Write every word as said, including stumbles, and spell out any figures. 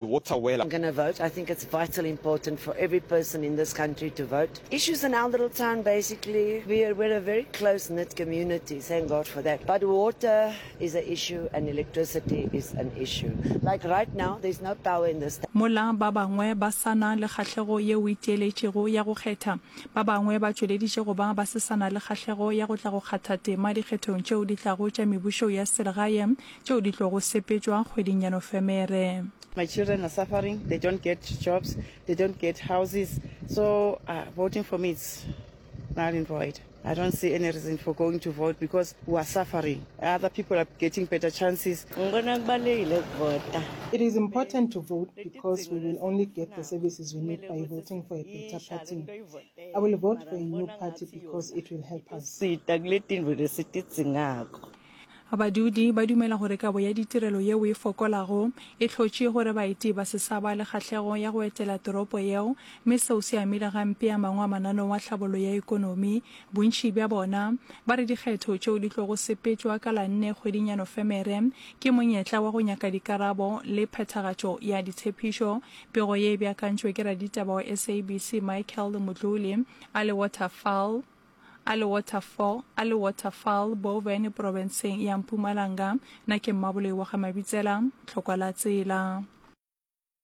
Water wela. I'm gonna vote. I think it's vitally important for every person in this country to vote. Issues in our little town, basically, we're, we're a very close-knit community, thank God for that. But water is an issue and electricity is an issue. Like right now, there's no power in this town. Mola ba bangwe ba sa na le kgahlego yeo e tieletšego ya go kgetha, ba bangwe ba tšweleditše go ba ba se sa na le kgahlego ya go tla go kgatha tema dikgethong tšeo di tlago tša mebušo ya selegae tšeo di tlogo sepetšwa kgweding ya Nofemere. My children are suffering, they don't get jobs, they don't get houses. So uh, voting for me is null and void. I don't see any reason for going to vote because we are suffering. Other people are getting better chances. Ngibona kubalulekile ukuvota. It is important to vote because we will only get the services we need by voting for a better party. I will vote for a new party because it will help us. Sita kule tintfo lesitidzingako. Badudi ba dumela gore kabo ya ditirelo yeo e fokolago e hlotše gore baeti ba se sa ba le kgahlego ya go etela toropo yeo, mme seo se amile gampe a mangwe a mananeo a tlhabollo ya ekonomi. Bontši bja bona ba re dikgetho tšeo di tlogo sepetšwa ka la nne kgweding ya Nofemere ke monyetla wa go nyaka dikarabo le phethagatšo ya ditshepišo. Pego ye e beakantšwe ke raditaba wa S A B C Michael Mdluli a le Waterfall a le Waterfall a le Waterfall Boven profenseng ya Mpumalanga. Nna ke Mmaboloi wa ga Mabitsela, Tlhokwa la Tsela.